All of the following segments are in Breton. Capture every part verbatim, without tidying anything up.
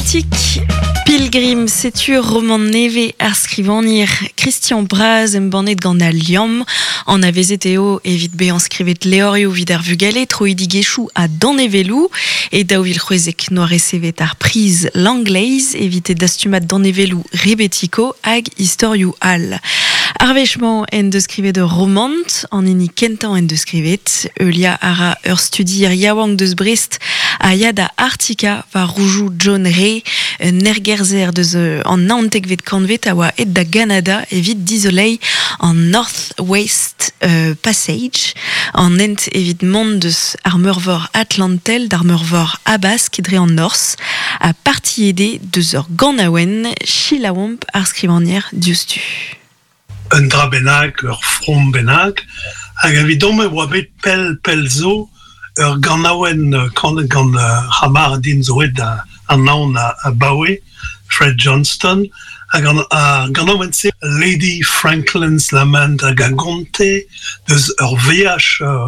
Celtic Pilgrim, setu romant nevez ar skrivagner Kristian Braz embannet gant Al Liamm. Anavezet eo evit bezañ skrivet levrioù evit ar vugale, troidigezhioù ha danevelloù. E daou vil c'hwezek 'noa resevet ar priz Langleiz evit e dastumad danevelloù Rebetiko hag istorioù all. Ar wech-mañ en deus skrivet ur romant, an hini kentañ en deus skrivet. Heuliañ a ra ur studier yaouank deus Brest a ya da Arktika war roudoù John Rae, un ergerzher deus an naontekvet kantved a oa aet da Ganada evit dizoleiñ an North West euh, Passage, an hent evit mont deus ar meurvor Atlantel d'ar meurvor Habask dre an norzh, ha partiet eo deus ur ganaouenn selaouomp ar skrivagner diouzhtu. Un dra bennak, ur from bennak, hag evidon e oa bet pell pell zo ur ganaouenn kanet gant c'hamarad din zo aet da anaon abaoe, Fred Johnston, hag an ar ganaouenn-se Lady Franklin's Lament hag a gonte deus ur veaj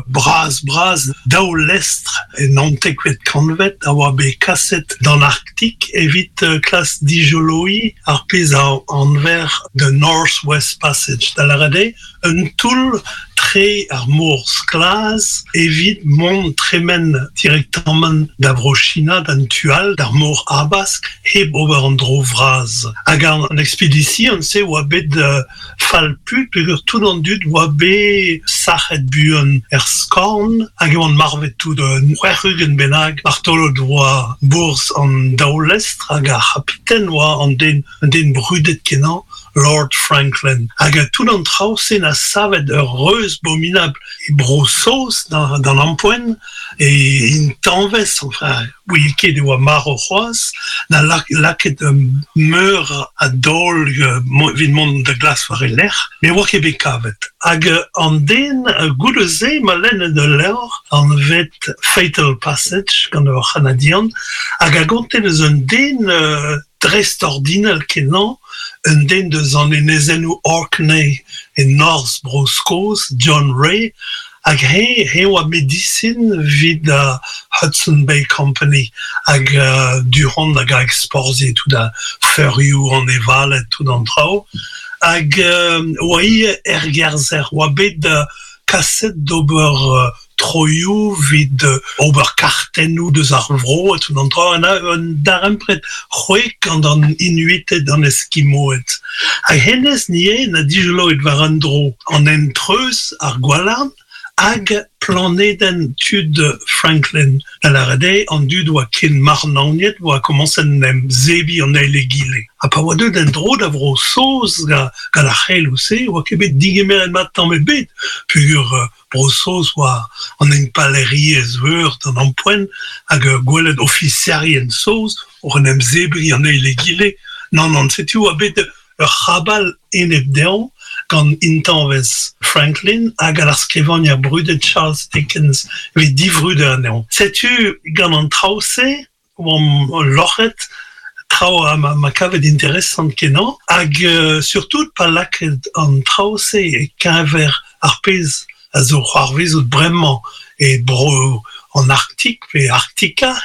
bras bras daou lestr e naontekvet kantved a oa bet kaset d'an Arktik evit klask dijoloiñ ar pezh a anver the North West Passage da lâret eo un toull tre ar mor sklas evit mont tremen direktamant da Vro-China d'an tu all d'ar mor Habask hep ober an dro vras. Hag an ekspedision-se oa bet uh, fall-put peogwir tout an dud oa bet sac'het buan er skorn hag e oant marvet tout un c'hwec'h-ugent bennak martolod oa bourzh an daou lestr hag ar c'habiten oa an den, un den brudet kenañ Lord Franklin. Hag tout an traoù-se 'na savet ur reuz abominabl e Bro-Saoz d'an, d'an ampoent e intañvez, enfin, ouie ket e oa marv c'hoazh, 'na lak, lakaet um, meur a daol uh, evit mont da glask war e lerc'h, met oa ket bet kavet. Hag uh, an den uh, goude-se 'ma lennet ul levr anvet Fatal Passage gant ur C'hanadian, hag a gonte deus un den uh, dreist-ordinal kenañ, un den deus an enezennoù Orkney e norzh Bro-Skos, John Rae, hag he, he oa medisin 'vit uh, Hudson Bay Company hag uh, du-hont hag a exporzie tout a feurioù anevaled tout an traoù. Hag uh, oa ivez ergerzher, oa bet uh, kaset d'ober uh, troioù 'vit uh, ober kartennoù deus ar vro ha tout an traoù, 'na un darempred c'hwek gant an Inuited an Eskimoed. Hag hennezh neuze 'na dijoloet war un dro an hent-treuz ar Gwalarn hag planedenn tud Franklin. Da lâret eo an dud oa ken marnaoniet oa komañset 'n em zebriñ an eil egile. Ha pa oa deuet en-dro da Vro-Saoz gant ar c'heloù-se oa ket bet digemeret mat tamm ebet peogwir uh, Bro-Saoz oa an impalaeriezh veur d'an ampoent hag uh, gwelet ofiserien saoz oc'h en em zebriñ an eil egile. Nann, nann, setu oa bet ur c'habal enep dezhañ gant intañvez Franklin hag ar skrivagner brudet Charles Dickens evit divrudañ anezhañ. Setu gant an traoù-se oamp loc'het traoù a ma, ma kavet interesant kenañ hag uh, surtout pa lakaet an traoù-se e-keñver ar pezh a zo c'hoarvezout bremañ e bro an Arktik pe Arktika.